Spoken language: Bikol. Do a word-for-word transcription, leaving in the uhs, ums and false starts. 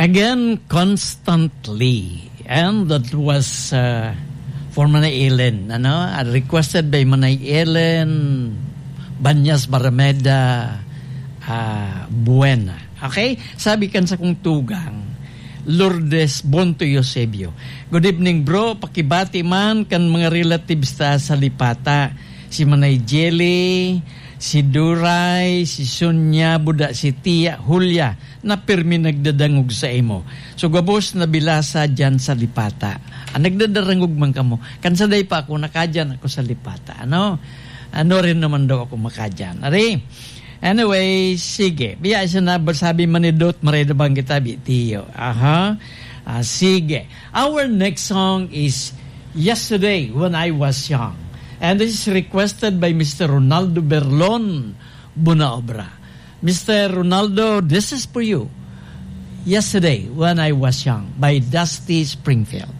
Again, constantly. And that was uh, for Manay Ellen. Ano? Uh, requested by Manay Ellen Banyas Barameda uh, Buena. Okay? Sabi kan sa kong tugang, Lourdes Bonto Eusebio. Good evening, bro. Pakibati man kan mga relatives ta sa Lipata. Si Manay Jelly, si Duray, si Sonia, buda si Tia Julia, na pirmi nagdadangog sa imo. So, gabos na bilasa dyan sa Lipata. Ah, nagdadarangog man kamo. Kan saday pa ako, nakadyan ako sa Lipata. Ano? Ano rin naman daw ako makadyan. Ari? Anyway, sige. Biya siya na sabi manidot, mareda bang kita, bitiyo. Aha. Ah, sige. Our next song is Yesterday When I Was Young. And this is requested by Mister Ronaldo Berlon Bunaobra. Mister Ronaldo, this is for you. Yesterday When I Was Young by Dusty Springfield.